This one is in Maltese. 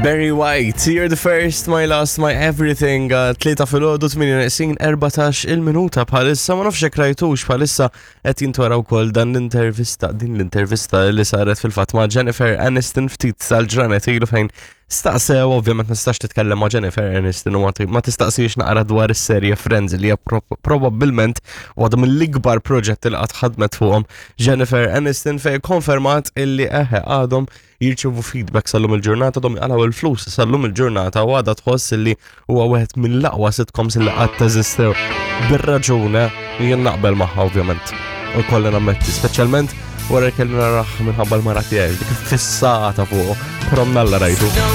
Barry White, You're the First, My Last, My Everything, 3 filgħodu 8 neqsin 14 il-minuta bħalissa, ma nafx jekk rajtux bħalissa qed jintwara wkoll dan l-intervista, din l-intervista li saret fil-fatt ma' Jennifer Aniston ftit tal-ġranet ilu fejn staqsew, ovvjament ma tistax titkellem ma' Jennifer Aniston u ma tistaqsix naqra dwar is-serje Friends li hija probabbilment waħda mill-ikbar proġetti li qatt ħadmet fuqhom Jennifer Aniston fejn konfermat illi eħe għadhom jirċievu feedback sal-lum il-ġurnata, dom jqalgħu il-flus sal-lum il-ġurnata u għadha tħoss li huwa wieħed mill-aqwa sitcoms li qatt teżistew. Bir-raġune jien naqbel magħha ovvjament. U kolli nammetti, speċjalment wara kelli naraħ minħabba l-mara tiegħi, dik fissata fuq, però mnalla rajtu.